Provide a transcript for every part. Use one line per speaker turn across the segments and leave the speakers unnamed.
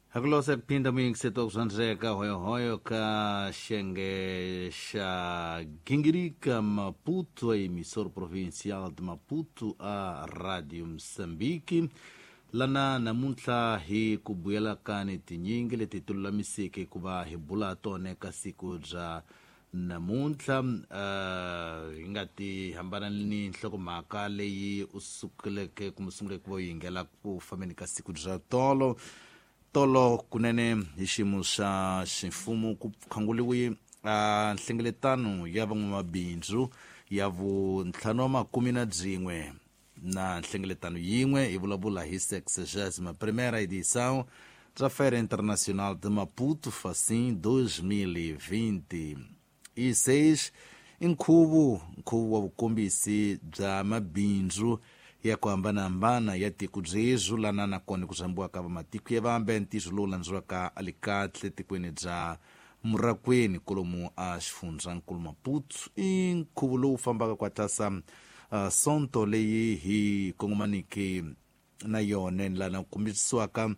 Hakulose kuphinda muyingiseti wa ku swandzeka hoyohoyo ka xiyenge xa gingirika Maputo, a emissora provincial de Maputo, a Radio Moçambique. Lana namuntlha hi ku buyela ka ni tinyingi leti ti lulamiseke ku va hi bula tona ka siku bya namuntlha. Hi nga ti hambana ni nhlokomhaka leyi u sukeleke kumbe sunguleke ku va u yingela ku fambeni ka siku bya tolo tolo. Kunene hi xiyimo xa ximfumo ku khanguliwe nhlengeletano ya van'wamabindzu ya vuntlhanu wa makume na byin'we na nhlengeletano yin'we. Hi vulavula hi 61ª edição da Feira Internacional de Maputo, Facim 2026. I nkhuvo wa vukombisi bya mabindzu ya ku hambanahambana ya tiko byebyo, lana nakona ku rhambiwaka vamatiko ya vambe. Ntirho lowu landziwaka alikahle tikweni bya Murakweni kolomu a xifundzankulu Maputo. I nkhuvo lowu fambaka kwatlasa sonto leyi hi kongomaniki na yona, lana ku kombisiwaka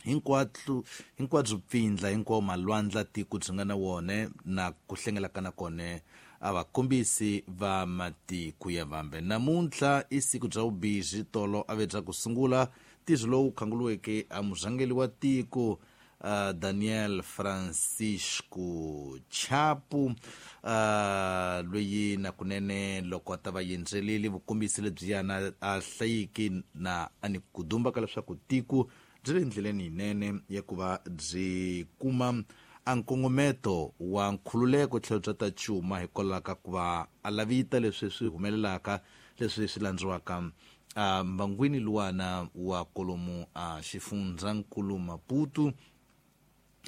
hinkwatlu hinkwabyo pfindla hinkwawo malwandla tiko byi nga na wona na ku hlengelaka na kona a vakombisi va matiko ya vambe. Namuntlha i siku bya vubizi. Tolo a ve bya ku sungula ntirho lowu khanguliweke a murhangeli wa tiko, Daniel Francisco Chapo, loyi na kunene loko a ta va yendzeleli vukombisi lebyiyana a hlayiki na a ni ku dumba ka leswaku tiko byi le ndleleni yinene ya ku va byi kuma a nkongometo wa nkhululeko tlhelo bya ta cuma, hikwalaho ka ku va a lavita leswi swi humelelaka, leswi swi landziwaka a mbangwini luwana wa kolomu a xifundzankulu Maputo.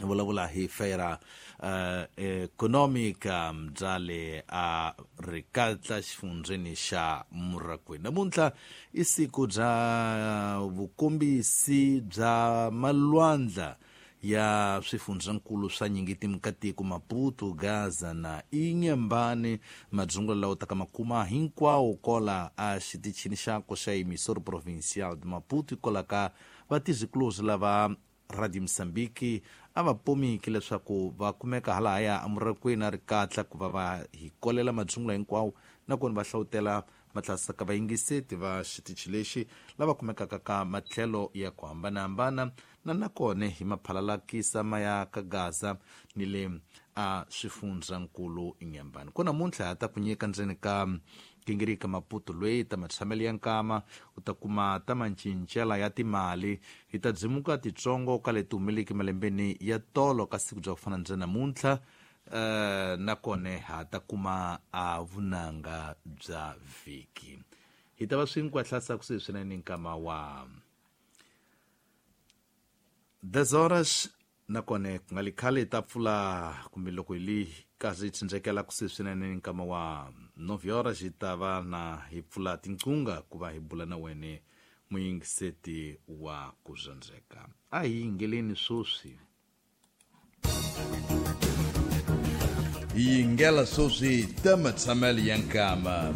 Vulavula hi Feira Economica bya le a Rikatla xifundzeni xa Murakwini. Namuntlha i siku bya vukombisi bya malwandla ya swifundzankulu swa nyingiti katiko Maputo, Gaza na Inyambani. Madzungulo lawa taka makuma hinkwawo kola a xitichini xako xa emissora provincial de Maputo, hikwalaho ka vatizikuluzi lava Radio Mozambique a va pomiki leswaku va kumeka halahaya emurakweni a ri katla ku va va hi kolela madzungulo hinkwawo, nakona va hlawutela matlasa ka vayingiseti va xitichi lexi lava kumekaka ka matlhelo ya ku hambanahambana, na nakona hi maphalalakisa ma ya ka Gaza ni le a swifundzankulu Inyambani. Ko namuntlha ha ta ku nyika ndzeni ka gingirika Maputo loyi ta matshamelo ya nkama, u ta kuma ta mancincela ya timali. Hi ta dzimuka titsongo ka leti humeleki malembeni ya tolo ka siku bya ku fana ndze namuntlha, nakona ha ta kuma a vunanga bya vhiki. Hi ta va swinkwahlasa kusuhi swinene nkama wa 10 horas, nakona ku nga li khale hi ta pfula, kumbe loko hi li karhi hi tsindzekela kusuhi swinene nkama wa 9 horas, hi ta va na hi pfula tinqunga ku va hi bula na wene muyingiseti wa ku zwandzeka. A hi yingeleni swoswi.
Yingela swoswi ta matshamelo ya nkama.